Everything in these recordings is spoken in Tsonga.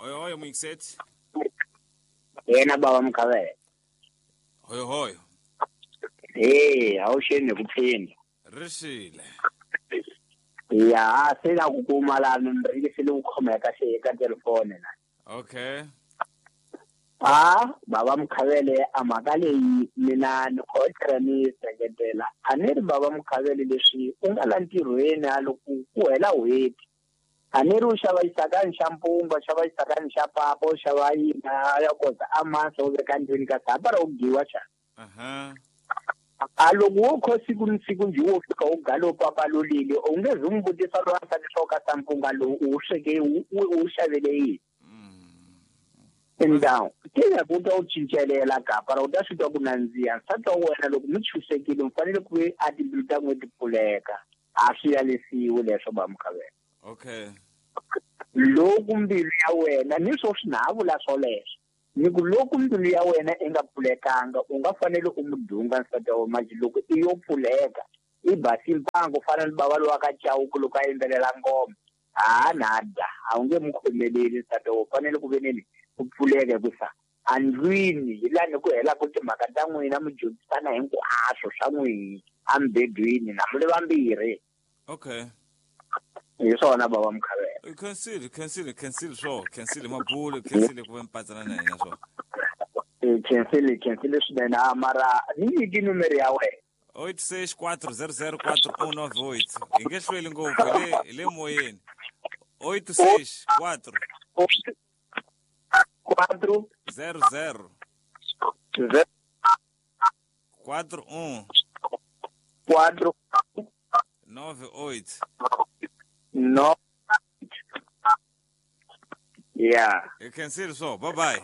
Hoyo hoyo Muingiseti. Yena baba Mkhavele. Hoyo hoyo. Eh, awusheni kuphinda. Rishile. Ya, sela kukuma la nimrikisile ukukhomeka eka telefone na. Okay. Ah, baba Mkhavele amhaka leyi mina ni khotlhela ni seketela. A ni ri baba Mkhavele leswi u nga la ntirhweni a loko ku hela n'hweti. A ni ri u xava xisakani xa mpunga, xava xisakani xa papa, u xava yini a ya kota a masa u veka ndlwini kasi hapa ra u giwa xana. Aha. A loko wo kho siku ni siku njhe wo fika u galo papa lolile u nge zi n'wi vutisa loyi a leswaku ka sampunga lowu u wu sweke u wu xavele yini. Ndhawu ti ya ku ta u cincelela kapa ra u ta swi twa ku nandziha nsati wa wena loko mi chusekile mi fanele ku ve a timbilu ta n'we ti pfuleka a swi yalisiwi leswo ba Mkhavele. Okay. Loko mbilu ya wena ni swo swi na ha vula swoleswo ni ku loko mbilu ya wena i nga pfulekanga u nga fanele u mu dunga nsati wa wena manje loko i yo pfuleka i basi mpango fana ni bava lowa ka Chauke loko a yimbelela ngoma ha nada a wu nge mu khomeleli nsati wa wena u fanele ku ve nini ku pfuleka hikusa andlwini hi lani ku helaka timhaka ta n'wina mi dyondzisana hinkwaswo swa n'wihi embedweni na mi le vambirhi. Okay. Hi swona baba Mkhavele. Khensile, khensile, khensile swo, khensile mabulu, khensile ku ve mpatsana na hina swo. Khensile, khensile swinene a mara ni nyiki numero ya wena. 864004198. Hi nge hlweli ngopfu hi le hi le moyeni. 864 4 00 0 41 4 98. 9 Yeah. Hi khensile swo. Bye bye.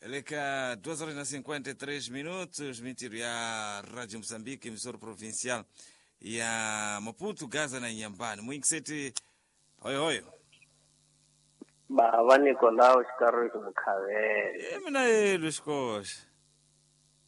Le ka 2 horas na 53 minutos, mintirho ya Radio Moçambique, emissora provincial ya Maputo, Gaza na Inhambane. Muingiseti, hoyo hoyo. Bava Nicolau Xikariki Mkhavele. E mina yelo xikoxa.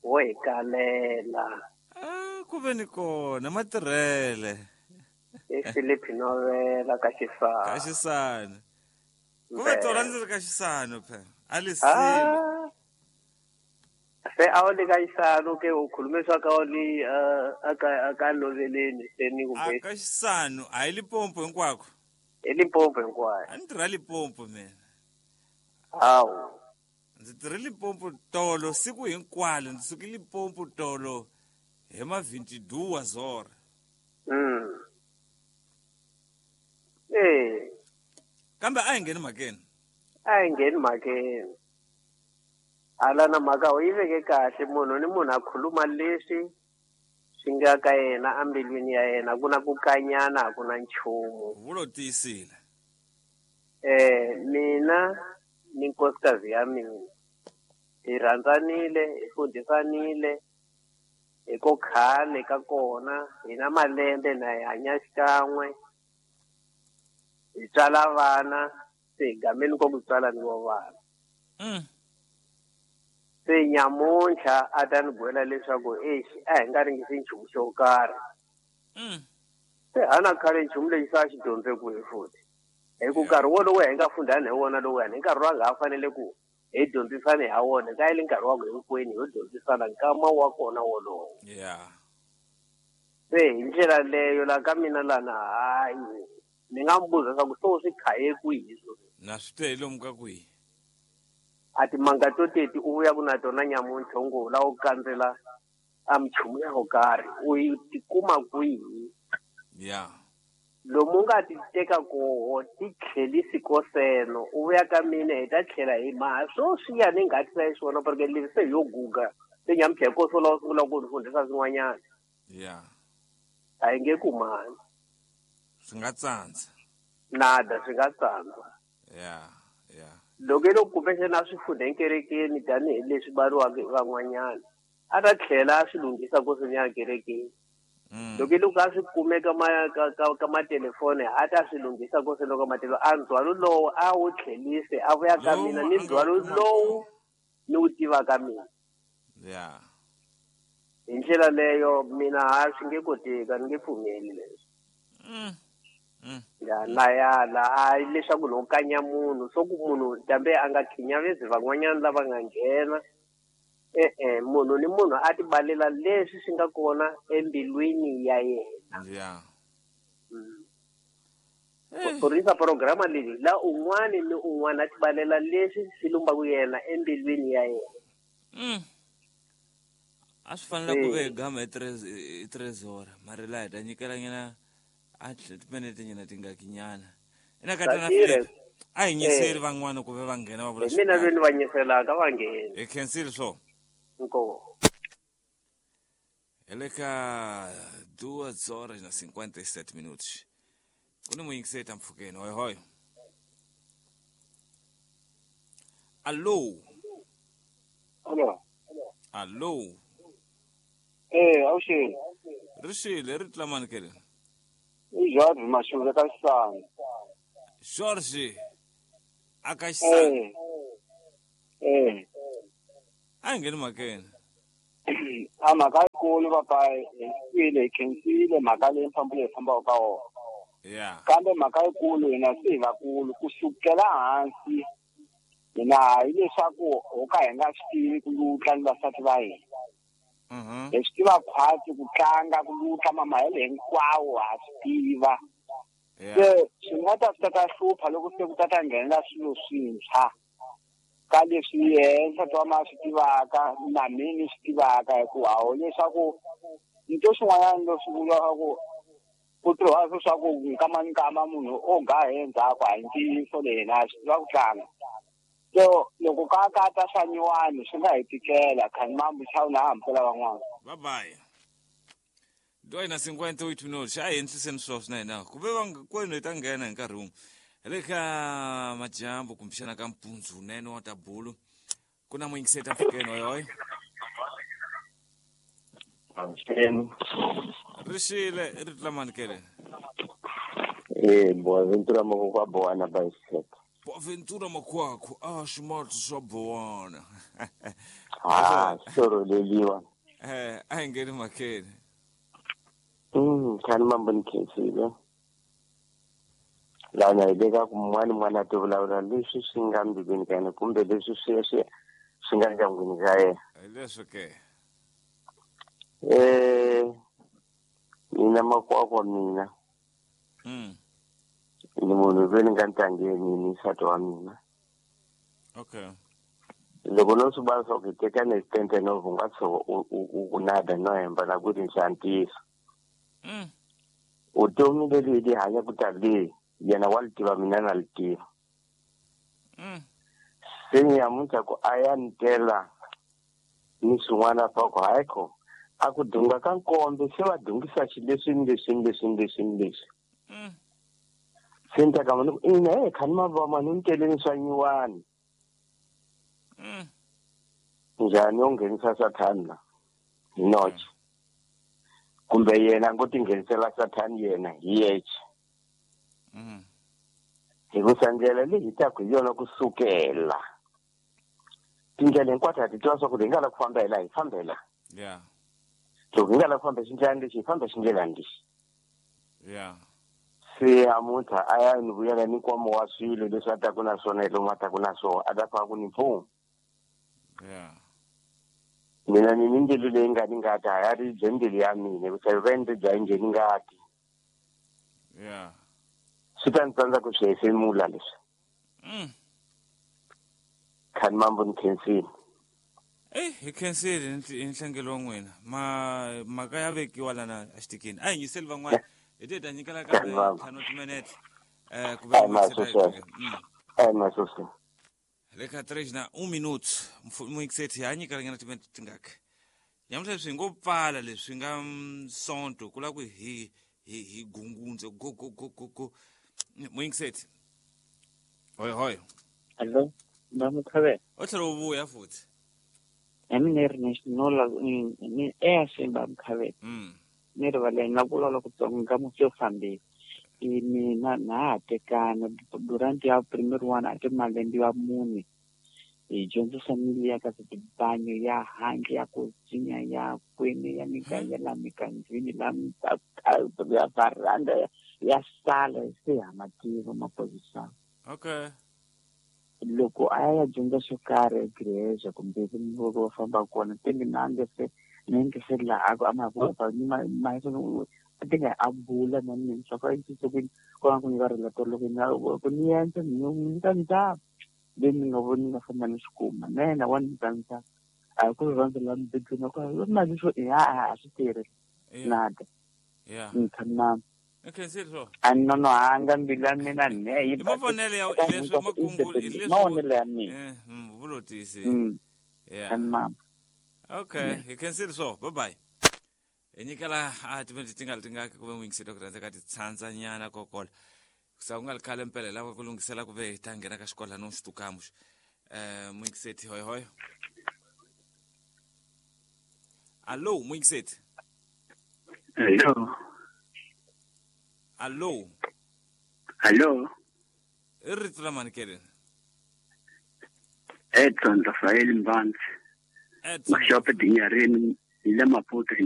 Wo hi kalela. Ah, ku ve ni kona matirhele. I Philip Novela ka Xisano. Ka Xisano. Ku ve tona ndzi ri ka Xisano phela. A li sile. Se a wu li ka Xisano ke u khulume swa ka u li a ka Noveleni se ni ku A ka Xisano a hi Limpopo hinkwako. I Limpopo hinkwayo. A ni tirha Limpopo mina. Hawu. Ndzi tirhe Limpopo tolo siku hinkwalo ndzi suke Limpopo tolo hi ma 22 zora. Eh. Kambe a hi ngheni mhakeni. A hi ngheni mhakeni. Hala na mhaka u yi veke kahle munhu ni munhu a khuluma leswi swi nga ka yena embilwini ya yena ku na ku kanyana a ku na nchumu. Vulo tiyisile. Mina ni nkosikazi ya mina hi rhandzanile hi fundhisanile hi ko khale ka kona hi na malembe na hi hanya xikan'we hi tswala vana se hi gameni ko ku tswala ni vo vana. Se nyamuntlha a ta ni byela leswaku exi a hi nga ringisi nchumu xo karhi. Se hana khale nchumu lexi se a xi dyondze kwihi futhi hi ku nkarhi wolowo hi nga fundhani hi wona lowuyani hi nkarhi lowu a nga ha fanele ku hi dyondzisane ha wona ka yile nkarhi wa ku hinkwenu ho dyondzisana nkama wa kona wolowo. Yeah. Se hi ndlela leyo la ka mina lana hayi ni nga n'wi buza leswaku se u swi khaye kwihi sweswi. Na swi twe hi lomu ka kwihi. A timanga to teti u vuya ku na tona nyamuntlha u ngo u lava ku kandzela a minchumu ya ko karhi u yi tikuma kwihi. Yeah. Lomu u nga ti teka koho ti tlhelisi koseno u vuya ka mina hi ta tlhela hi maha swo swiya ni nga tisa xiswona porque leswi se hi yo guga se nyamuntlha hi koso lawa sungula ku ni fundhisa swin'wanyana. Yeah. A hi nge kumani. Swi nga tsandza. Nada swi nga tsandza. Yeah, yeah. Loko i lo kumbexana a swi fundha enkerekeni tanihileswi bariwaka hi van'wanyana a ta tlhela a swi lunghisa koseni kerekeni. Loko i loko a swi kume ka ma ka ka ka matelefoni a ta swi lunghisa koseni ka matelefoni a ndzhwalo lowu a wu tlhelise a vuya ka mina ni ndzhwalo lowu ni wu tivaka mina. Yeah. Hi ndlela leyo mina ha swi nge koteki a ni nge pfumeli leswi. Ya na yala a leswaku no kanya munhu so ku munhu dambe a nga khinyavezi van'wanyana lava nga nghena munhu ni munhu a tibalela leswi swi nga kona embilwini ya yena. Ya. Kurisa programa leyi la un'wana ni un'wana a tibalela leswi swi lumbaku yena embilwini ya yena. A swi fanele ku ve gama hi 3 horas mara laha hi ta nyikela nyana a timinete nyana tingakinyana ina ka tana Philip a hi nyiseli van'wana ku ve va nghena va vula mina veni va nyiselaka va nghena hi khensile swo nko hi le ka 2:57 minutos ku ni muyingiseti mpfhukeni hoi hoi. Allo. Allo. Allo. Awuxeni. Rixile ri tlamani kele. I George Mashule ka Xisana. George aka Xisana. A hi ngheni mhakeni. A mhaka yikulu papa hi twile hi khensile mhaka leyi mfambo leyi fambaka ka wona. Yeah. Kambe mhaka yikulu hina se hi vakulu ku sukela hansi hina hileswaku ho ka hi nga swi tivi ku lutla ni vasati va hina. Hi swi tiva khwatsi ku tlanga ku lutla mamahelo hinkwawo ha swi tiva. Se swi nga ta swi ta hlupha loko se ku ta ta nghenela swilo swintshwa ka leswi yena nsati wa ma swi tivaka na mina ni swi tivaka hikuva a leswaku nto swin'wanyana leswi vulaka ku ku tirhiwa swo swa ku nkama nkama munhu o ga hi endzhaku a hi ntiyiso leyi hina swi tiva ku tlanga. So loko ka ka ta swa nyuwani swi nga hi tikela khani mambu chawuna ha hambukela van'wana. Bye bye. 2:58 minutos. A hi endliseni swilo swi na hina ku ve kwenu hi ta nghena hi nkarhi wun'we. Hi le ka madyambu kumbexana ka mpundzu wunene wa tabulu ku na muyingiseti mpfhukeni hoi hoi. Rixile ri tlamani kele. Boaventura Makwakwa Bowana bicycle. Boaventura Makwakwa a ximatsi swa Bowana. Soro leliwa. A hi ngheni mhakeni. Khani mambo ni khensile. Lana hi le ka ku mun'wana n'wana a ti vulavula leswi swi nga mbilwini ka yena kumbe leswi swi swi swi nga ndyangwini ka yena. Hi leswo ke. Mina Makwakwa mina. Ni munhu loyi ni nga ntangeni ni nsati wa mina. Okay. Loko no swi vona swa ku hi tekana hi tente no u nga tshuka u nada no hemba na ku ri xa ntiyiso. Vutomi leri hi li hanyaka ta leyi yena wa li tiva mina na li tiva. Se nyamuntlha ku a ya ni tela ni swin'wana swa ku hayi kho a ku dunga ka nkombe se va dungisa xileswi ni leswi ni leswi ni leswi ni leswi. Se ni ta ka ku ina khani mavama mani ni teleni swa nyuwani. Njhani yo nghenisa sathani la hi noche kumbe yena ngo ti nghenisela sathani yena hi yexe. Hikusa ndlela leyi hi taku hi yona kusukela tindlela hinkwato ha ti tiva swa ku hi nga la ku famba hi laha hi famba hi laha. Yeah. Loko hi nga la ku famba xindlelani lexi hi famba xindlelani lexi. Yeah. Se amuntlha a ya ni vuyela ni nkwama wa swilo leswi a taku na swona hi lomu a taku na swona a ta fika ku ni pfuna. Yeah. Mina ni ni mbilu leyi nga ni ngati a ya ri bye mbilu ya mina hikusa yi va ni ri bya njhe ni ngati. Yeah. Swi ta ni tsandza ku swi hefemula leswi. Khani mambo ni khensile. Hi khensile hi nhlengelo wa n'wina. Mhaka ya vekiwa lana exitikini. A hi nyiseli van'wana hi te hi ta nyikela kambe ntlhanu timinete ku ve masose. Le ka 3:01 minuto muyingiseti ha nyikela nyana timinete tingaki. Nyamuntlha leswi hi ngo pfala leswi nga sonto ku lava ku hi hi gungundze go go go go go. Muyingiseti. Hoi hoi. Allo, Mamukhabe. O tlhela u vuya futhi. Mina ri national ni Mamukhabe. Ni rivaleni na vulavula ku tsonga musi fambile. Mina na ha tekana durante ya primero one a ti malembe ya mune. Hi dyondzisa mili ya ka tibanyo ya handle ya ku dzinya ya kwini ya miganga la mikandzini la ya varanda Ya sala se ha ma tiva maphorisa. Okay. Loko a ya dyondza xo karhi egreja kumbe va famba kona te mina nge se ni nge se laha a ma ku ni ma a ti nga a bula na mina swa ku a ku ku nga ku nyika relato loko ni ku ni endla ni nyika ndzhaku leyi ni nga voni nga famba ni swi kuma na yena wa ni nyika ndzhaku a hi ku rirhandzu la mubedweni ku mali swo ya a swi tirhi nada ni tshama a ni nonohanga mbilu ya mina ne yi mavonelo ya leswi makungu leswi mavonelo ya mina vulotisi yeah mama okay hi khensile swo bye bye hi nyikela a timinete ti nga ri tingaki ku ve n'wingiseli ku rhandza ka ti tshandza nyana kokola sa ku nga ri khale mpela hi lava ku lunghisela ku ve hi ta nghena ka xikola no xitukamu n'wingiseti hoy hoy allo n'wingiseti. Hello. Allo. Hello. I rito la mani ke rini? Edson Rafael Mbanzi. Edson. Mashope Dinyarini hi le Maputo.